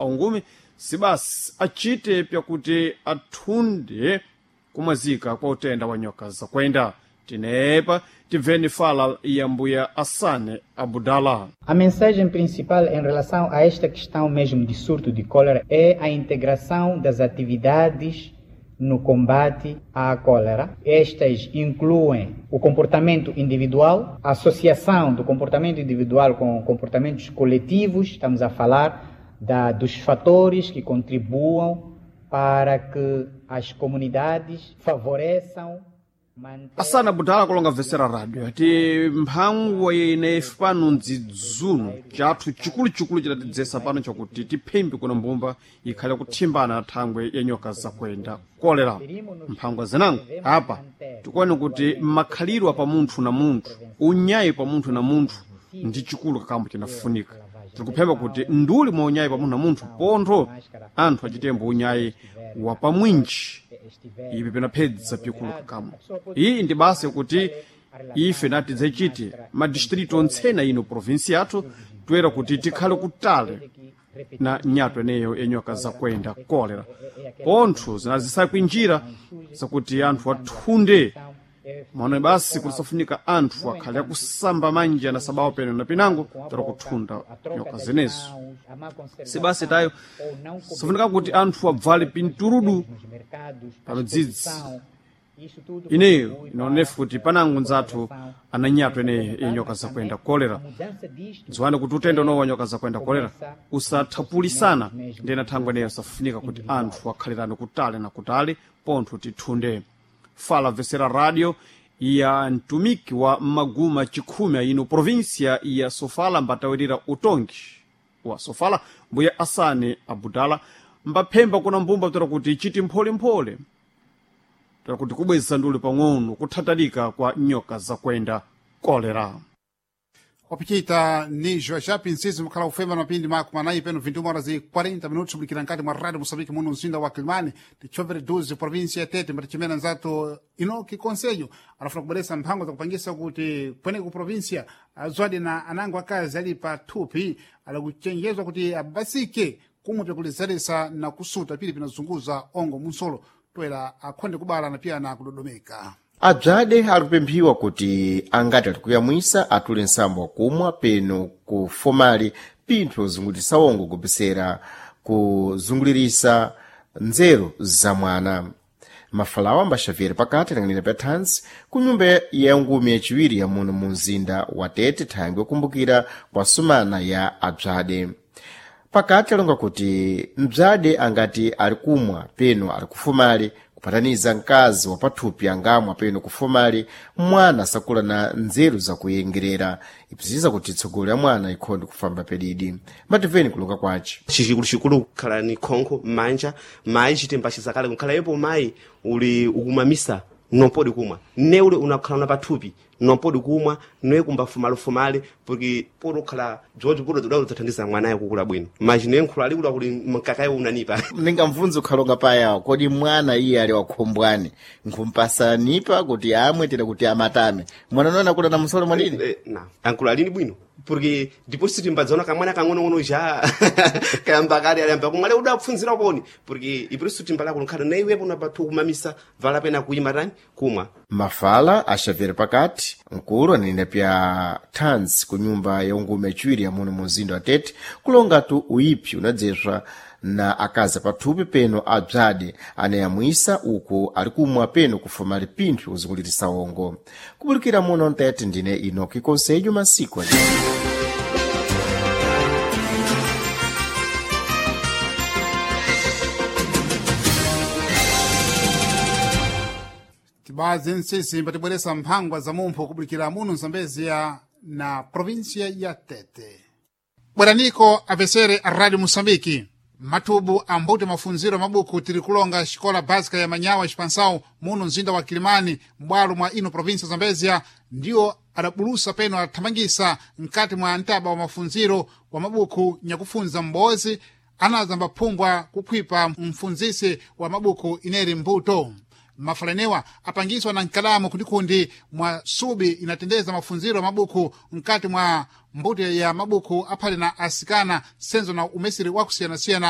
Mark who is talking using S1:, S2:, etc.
S1: Aungumi sibasi achite pyakuti athunde kumwazika kwa utenda wa nyoka zakwenda. Tinepa tibveni fala ya mbuya Assane Abudala.
S2: A mensagem principal em relação a esta questão mesmo de surto de cólera é a integração das atividades no combate à cólera. Estas incluem o comportamento individual, a associação do comportamento individual com comportamentos coletivos, estamos a falar dos fatores que contribuam para que as comunidades favoreçam.
S1: Asana Budala kulonga vesera radio ati mphangwa ine pano ndzidzuno chathu chikuluchikulu chidatidzesa pano chakuti tiphembe kuna mbumba ikhale kuthimbana na thangwe ya nyoka zakwenda kolera. Mphangwa zinango apa tikuone kuti makhalidwe pa munthu na munthu, unyayi pa munthu na munthu ndi chikulu kakambo chinafunika. Tikuphemba kuti nduli mwa unyayi pa munthu na munthu pontho anthu achitembo unyayi wa pamwinji ipi pinaphedza pikulu kakambo. Iyi ndi basa yakuti ife nati dzachite madistritu ontsena ino provinsi yathu toera kuti tikhale kutale na nyato eneyo yenyoka zakwenda kolera. Pontho zinazisakwinjira zakuti anthu athunde maona basi kuti anthu akhale akusamba manja na sabawo peno na pinango tera kuthunda nyoka zenezo. Sibasi tayo safunika kuti anthu abvale pinturudu pamidzidzi ineyo inaonefu kuti panango nzathu ananyato eneyo yenyoka zakwenda kolera. Dziwani kuti utenda unowo wa nyoka zakwenda kolera usathapulisana ndena thangwe eneyo safunika kuti anthu akhalirane kutali na kutali pontho tithunde. Fala vesera radio ya mtumiki wa maguma chikhumi aino provinsia ya Sofala mbatawirira utongi wa Sofala mbuya Asane Abudala mbaphemba kuna mbumba toera kuti chiti mpholemphole toera kuti kubweza nduli pang'ono kuthatalika kwa nyoka zakwenda kolera.
S3: Wapichita ni Joachap Nsizi mukhala kufema mapindi mako manayi peno 21 horas e 40 minutos bulikira nkati mwa rádio Moçambique muno mzinda wa Quelimane tichovere 12 província ya Tete mbatichimena nzathu Inoki Conselho anafuna kubweresa mphango zakupangisa kuti kweneko ku província azwadi na anango akazi ali pa thupi alakuchenjezwa kuti abasike kumwe pyakulizalisa na kusuta pili pinazunguza ongo munsolo toera akhonde kubala na pia na kudodomeka.
S4: Abzade alikupemphiwa kuti angati alikuyamwisa atule nsambo wakumwa peno ku fomali pinthu yozungulirisa wongo kupesera kuzungulirisa nzeru za mwana. Mafalawo ambaxaviera pakati alang'anira pa thansi ku nyumba ya ngumi yaciwiri ya muno mu mzinda wa Tete thangwe yokumbukira kwa sumana ya abzade. Pakati alonga kuti mbzade angati ali kumwa peno ali kufumali kupataniza mkazi wa pathupi angamwa peno kufumali mwana sakula na nzeru zakuyengerera ipsitiza kuti tsogolo ya mwana ikhonde kufamba pedidi. Mativeni kulonga kwace
S5: chikuluchikulu kukhala ni khonkho m'manja mayi chitemba chizakale kukhala yepo mayi uli ukumamisa nompodi kumwa ne ule unakhala na pathupi nompodi kumwa noye kumbafumalefumale porque podi ukhala bzodzi podi udaulo dzathandiza mwanayo kukula bwino maji noye nkhula ali kula kuli mkakayo unanipa.
S4: Ningamvunza ukhalonga payawo kodi mwana iye ali wakhombwani nkhumpasa nipa kuti amwe tera kuti amatame mwana unoona akula na msolo mwadini?
S5: Na ankula alini bwino porque depois timbadzaona kamwana kang'onong'ono ja kayamba kale alayamba kumwe ale udapfunzira poni porque ipriso timbala kunkhala na iwepo unapathu kumamisa vala pena kuyima tani kumwa.
S4: Mafala axaviera pakati mkulu ananena pya thansi ku nyumba ya ungume yaciwiri ya muno mu mzinda wa Tete kulongatu uiphi unadzeswa na akazi pathupi peno abzade anayamwisa uku ali kumwa peno kufumali pinthu kuzungulirisa wongo. Kubulikira muno mtete ndine Inoki Conselho masiku ali.
S3: Tibazi nsisi mbatibweresa mphangwa za mumpho kubulikira muno Mzambezia na província ya Tete. Bweraniko apesere a Rádio Moçambique mathubu ambuti mafunziro mabuku tiri kulonga xikola básica ya Manyawa expansão muno mzinda wa Kilimani m'bwalo mwa ino província Zambezia ndiwo adabulusa peno adathamangisa mkati mwa ntaba wa mafunziro wa mabuku nyakufunza m'bozi anaza mbaphungwa kuphwipa mfunzisi wa mabuku ineri mbuto. Mafalanewa apangiswa na nkalamu kundikundi mwa subi inatendeza mafunziro ya mabuku mkati mwa mbuto ya mabuku aphale na asikana senzo na umesiri wakusiyanasiyana.